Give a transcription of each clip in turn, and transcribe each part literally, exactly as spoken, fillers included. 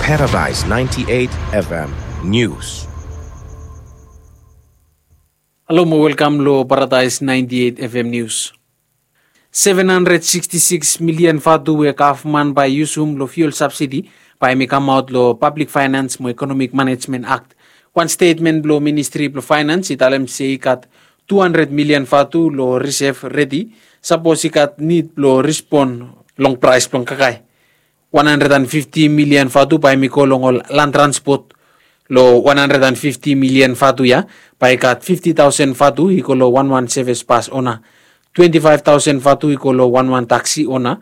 Paradise ninety-eight F M News. Halo mo welkam lo Paradise ninety-eight F M News. Seven hundred sixty-six million vatu we gavman bae i yusum lo fuel subsidy bae hemi kamaot lo Public Finance mo Economic Management Act. Wan stetmen blo Ministri blo Finance i talem se i gat two hundred million vatu lo reserve redi sapos i gat nid blo respon long praes blong kakae. One hundred and fifty million vatu bae hemi go long ol land transport. Lo one hundred and fifty million vatu ya bae i gat fifty thousand vatu i go lo wanwan sevis bas ona, twenty-five thousand vatu i go lo wanwan taksi ona,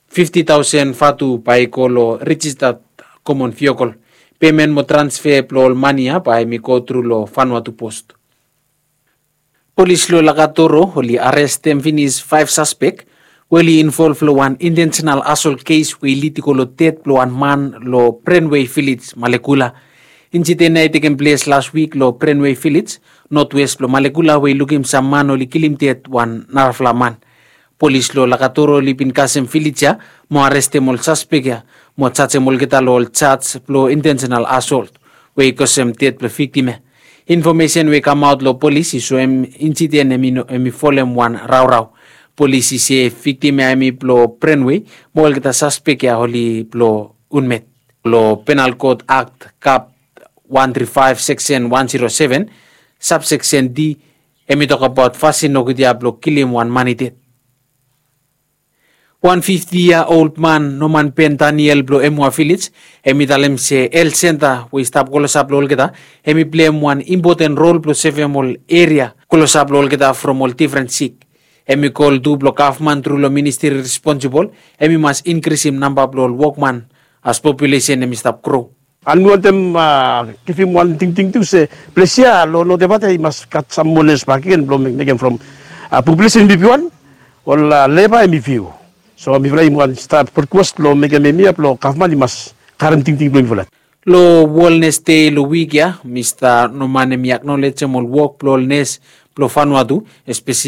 fifty thousand vatu bae i go lo rijista komon viokol. Pemen mo transfe blo ol mane ya bae hemi go tru lo Vanuatu Post. Polis lo Lakatoro oli arestem finis faef saspek we oli involv lo wan intensenal asol kes we i lid i go lo ded blo wan man lo Brenwei Vilej, Malekula. Insiden ya i tekem ples las wik lo Brenwei Vilej, notwes blo Malekula, we i lukim sam man oli kilim ded wan narafala man. Polis lo Lakatoro oli bin kasem vilej ya mo arestem ol saspek ya mo jajem olgeta lo ol jaj blo intensenal asolt we i kosem ded blo viktim ya. Infomesen we i kamaot lo polis i soem insiden hemi folem wan raorao. Polis i se viktim ya hemi blo Brenwei mo olgeta saspek ya oli blo Unmet. Lo Penal Kot Akt, Kap one three five, Seksen one zero seven, Sabseksen D, hemi tokbaot fasin nogud ya blo kilim wan man i ded. Wan fifti yia ol man, Norman Ben Daniel blo Emwa Vilej, hemi talem se health centre we i stap klosap lo olgeta hemi pleim wan impoten rol blo sevem ol eria klosap lo olgeta from ol difren sik. Hemi kol tu blo gavman tru lo ministri responsibol hemi mas inkrisim namba blo ol wokman as populesen hemi stap gro. An mi wantem givim wan tingting tu se ples ya lo North Evate i mas gat sam moa nes bakegen blo mekem from populesen hemi biwan, ol leba hemi fiu. So mifala i wan stap rikwes blo mekem hemia blo gavman i mas karem tingting blo mifala. Lo Wellness Day lo wik ya, Mista Norman hemi aknolejem ol wok blo ol nes blo Vanuatu, espeseli